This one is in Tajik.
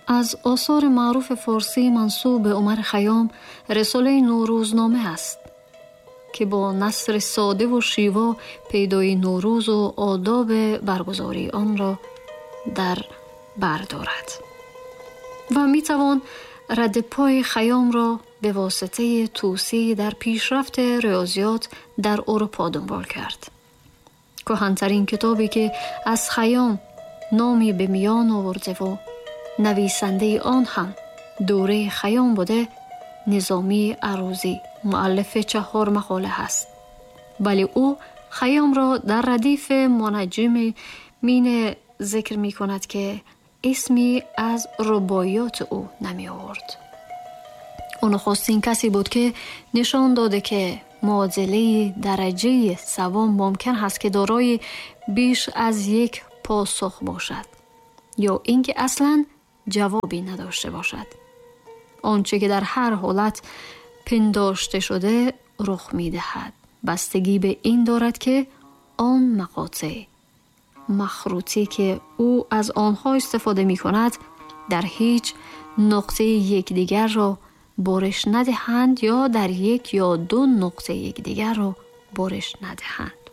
Аз осори маъруфи форсӣ мансуб ба Умар Хайём Рисолаи Наврӯзнома аст, ки бо насри сода ва шево пайдоии Наврӯз ва одоби баргузории онро дар бар дорад. Ва метавон радди пои Хайёмро ба воситаи Тӯсӣ дар пешрафти риёзиёт дар Аврупо дунбол кард. Кӯҳантарин китобе ки аз Хайём номе ба миён оварда ва нависандаи он ҳам дурии Хайём буда, Низомии Арӯзӣ, муаллифи 4 мақола ҳаст. Вале ӯ Хайёмро дар радифи мунаҷҷимин зикр мекунад, ки исме аз рубоиёти ӯ намеовард. Ӯ нахустин касе буд, ки нишон дода, ки муодилаи дараҷаи севум мумкин ҳаст, ки дорои беш аз як посух бошад ё инки аслан ҷавобе надошта бошад. Он чӣ ки дар ҳар ҳолат пиндошта шуда рух медиҳад, бастагӣ ба ин дорад, ки он мақотеъ махрутӣ, ки ӯ аз онҳо истифода мекунад, дар ҳеҷ нуқтаи якдигарро бориш надиҳанд ё дар як ё ду нуқтаи якдигарро бориш надиҳанд.